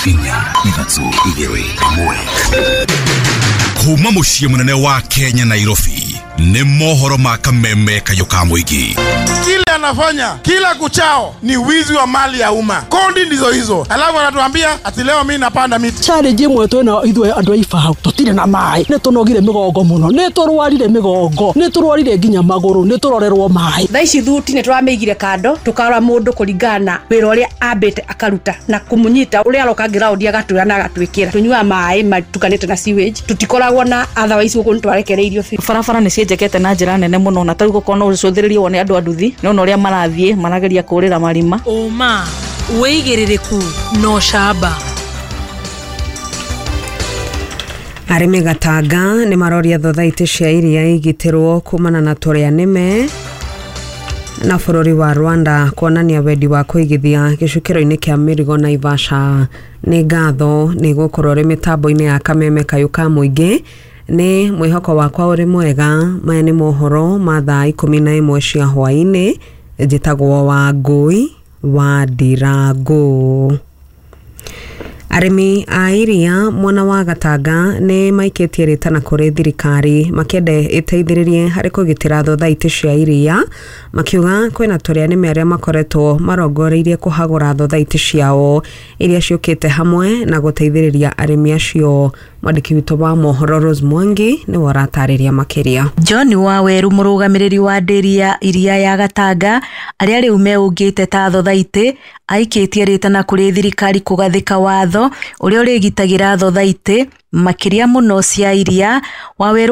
4 3 2 1. Kuma muciĩ mũnene wa Kenya, Nairobi, nĩ mohoro ma kameme kayũ ka mũingĩ. Kile anafanya kila kuchao ni wizi wa mali ya umma. Kodi ndizo hizo, alafu anatuambia ati leo mimi napanda miti. Challenge imwe twina ithuĩ andũ a Ibao, tũtirĩ na maĩ, nĩ tũnogire mĩgongo mũno, nĩ tũrwarire mĩgongo, nĩ tũrwarire nginya magũrũ, nĩ tũrorerwo maĩ. Thaa ici thuti nĩ tũramĩigire kando, tũkarora mũndũ kũringana na wĩra ũrĩa ambĩte akaruta na kũmũnyita ũrĩa aroka ground agatwĩra na agatwĩkĩra. Tũnyuaga maĩ matukanĩte na sewage, tũtikoragwo na otherwise gũkũ nĩ twarekereirio biũ. Barabara nĩ cienjekete na njĩra nene mũno, na tarĩu gũkorwo no ũcũthĩrĩrie wone andũ a nduthi, nĩ ũrĩa marathiĩ marageria kũrĩra marima. Ũma, wĩigĩrĩrĩku na ũcamba. Arĩmi Gatanga nĩ maroria thothaitĩ cia iria igitĩrwo kumana na tũrĩa nĩme na bũrũri wa Rwanda kuonania wendi wa kũigithia gĩcukĩro-inĩ kĩa mĩrigo Naivasha. Nĩ ngatho nĩ gũkorwo ũrĩ mĩtambo-inĩ ya kameme kayũ ka mũingĩ. Nĩ mwĩhoko wakwa ũrĩ mwega. Maya nĩ mohoro ma thaa 11 cia hwaĩ-inĩ. Njĩtagwo Wangũi wa Ndirangũ. Arĩmi a iria mwena wa Gatanga nĩ maikĩtie rĩtana kũrĩ thirikari makĩenda ĩteithĩrĩrie harĩ kũgitĩra thothaitĩ cia iria, makiuga kwĩna tũrĩa nĩme arĩa makoretwo marongoreirie kũhagũra thothaitĩ ciao iria ciũkĩte hamwe na gũteithĩrĩria arĩmi acio. Mwandĩki witũ wa mohoro Rose Mwangi nĩwe ũratarĩria makĩria. John Waweru, mũrũgamĩrĩri wa ndĩri ya iria ya Gatanga, arĩa rĩu meũngĩte ta thothaitĩ, aikĩtie rĩtana kũrĩ thirikari kũgathĩka watho ũrĩa ũrĩgitagĩra thothaitĩ makĩria mũno cia iria. Waweru